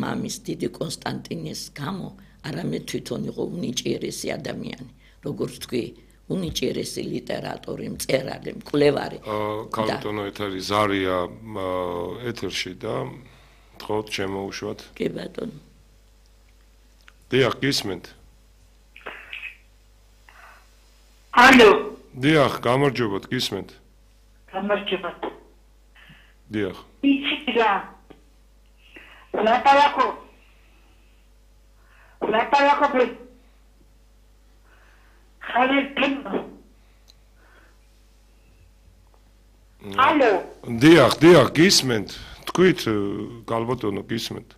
მამის დიდი კონსტანტინეს გამო არამედ თვითონ იყო უნიჭიერესი ადამიანი, როგორც თქვი, უნიჭიერესი ლიტერატორი, მწერალი, მკვლევარი. ქალბატონო ეთერი ზარია ეთერში და თხოვთ შემოუშვათ. კი ბატონო. დიახ, გისმენთ. ალო. დიახ, გამარჯობათ, გისმენთ. გამარჯობათ. დიახ. იცი რა. ლაპარაკო. ალო. დიახ, გისმენთ. თქვით, ქალბატონო, გისმენთ.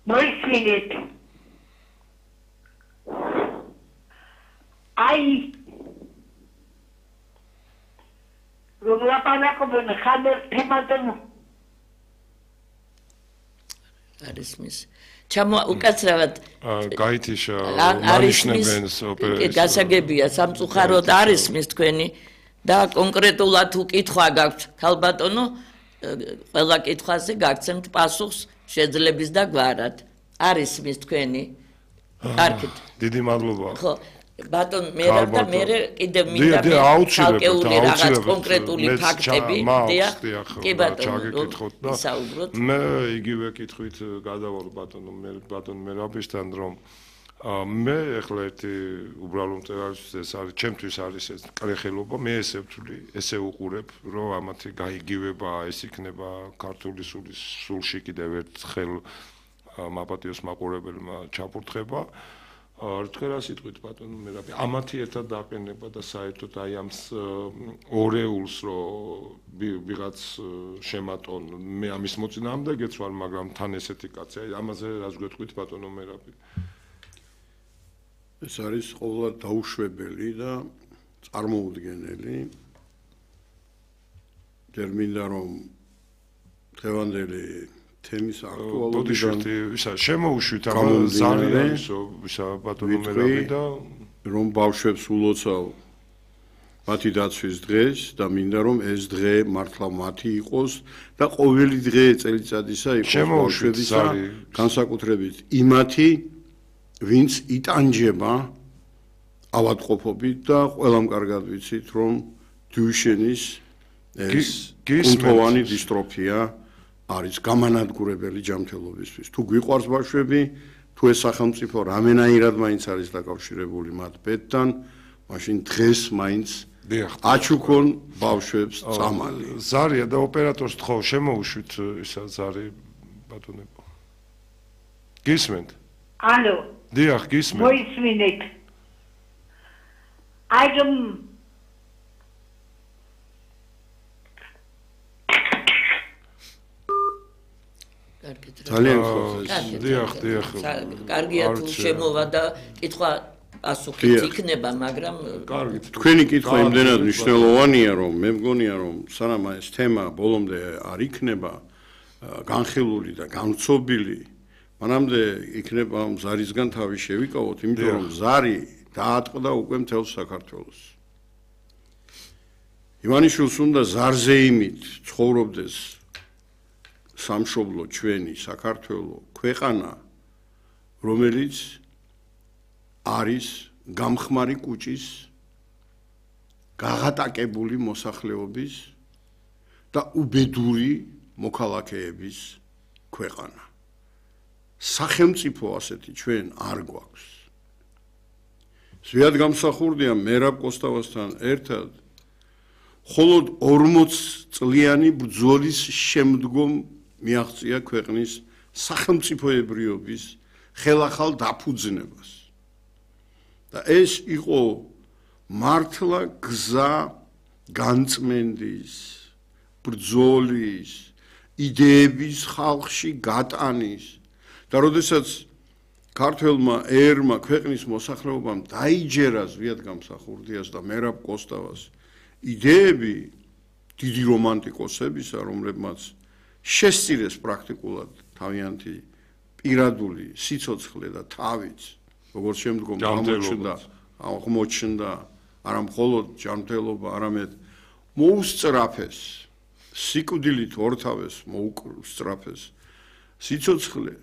მოისმინეთ. აი რომ ლაპარაკობენ ხალხ თემატენ არის მის ჩამო უკაცრავად გაითიშა მანიშნებენ ოპერაციას გასაგებია სამწუხაროდ არის მის თქვენი და კონკრეტულად უკითხვა გაქვთ ქალბატონო ყველა კითხვაზე გაგცემთ პასუხს შეძლების და გვარად არის მის თქვენი კარგით დიდი მადლობა ხო ბატონ მე და მე კიდევ მინდა ცალკეული რაღაც კონკრეტული ფაქტები დიახ კი ბატონო საუბროთ მე იგივე კითხვით გადავალ ბატონ მერაბისთან რომ მე ახლა ერთი უბრალო მწერალისთვის ეს არის ჩემთვის არის ეს კრეხელობა მე ესე ვთვლი ესე უყურებ რომ ამათი გაიგივება ეს იქნება ქართული სულში კიდევ ერთხელ მაპატიოს მაყურებელმა ჩაფურთხება თქვენ რა სიტყვით ბატონო მერაბი ამათი ერთად დაყენება და საერთოდ აი ამ ორეულს რომ ვიღაც შემატონ მე ამის მოწინააღმდეგეც ვარ მაგრამ თან ესეთი კაცი აი ამაზე რას გვეტყვით ბატონო მერაბი ეს არის ყოველად დაუშვებელი და წარმოუდგენელი ტერმინდა რომ დღევანდელი თემის აქტუალობიდან ისა შემოუშვით ამ ზარიანს ისა ბატონო მერაბი და რომ ბავშვებს ულოცავ მათი დაცვის დღეს და მინდა რომ ეს დღე მართლა მათი იყოს და ყოველი დღე წელიწადისა იყოს ბავშვებისა განსაკუთრებით იმათი ვინც იტანჯება ავადმყოფობით და ყველამ კარგად ვიცით რომ დუიშენის ეს კუნთოვანი დისტროფია არის გამანადგურებელი ჯანმრთელობისთვის. თუ გვიყვარს ბავშვები, თუ ეს სახელმწიფო რამენაირად მაინც არის დაკავშირებული მათ ბედთან, მაშინ დღეს მაინც აჩუქონ ბავშვებს წამალი. ზარია და ოპერატორს თხოვ შემოუშვით ისა ზარი ბატონებო. გისმენთ? ალო. დიახ, გისმენთ. მოისმინეთ. აი რომ ძალიან ხო დიახ კარგია თუ შემოვა და კითხვა პასუხიც იქნება მაგრამ კარგით თქვენი კითხვა იმდენად მნიშვნელოვანია რომ მე მგონია რომ სანამ ეს თემა ბოლომდე არ იქნება განხილული და განცობილი მანამდე იქნება ზარისგან თავი შევიკავოთ იმიტომ რომ ზარი დაატყდა უკვე მთელ საქართველოს ივანიშვილს უნდა ზარზე იმით ცხოვრობდეს სამშობლო ჩვენი საქართველო ქვეყანა რომელიც არის გამხმარი კუჭის გაღატაკებული მოსახლეობის და უბედური მოქალაქეების ქვეყანა სახელმწიფო ასეთი ჩვენ არ გვაქვს ზვიად გამსახურდია მერაბ კოსტავასთან ერთად მხოლოდ 40 წლიანი ბრძოლის შემდგომ მიაღწია ქვეყნის სახელმწიფოებრიობის ხელახალ დაფუძნებას და ეს იყო მართლა გზა განწმენდის ბრძოლის იდეების ხალხში გატანის და როდესაც ქართველმა ერმა ქვეყნის მოსახლეობამ დაიჯერა ზვიად გამსახურდიას და მერაბ კოსტავას იდეები დიდი რომანტიკოსებისა რომლებმაც შესწირეს პრაქტიკულად თავიანთი პირადული სიცოცხლე და თავიც როგორც შემდგომ აღმოჩნდა არა მხოლოდ ჯანმრთელობა არამედ მოუსწრაფეს სიკვდილით ორთავეს მოუსწრაფეს სიცოცხლე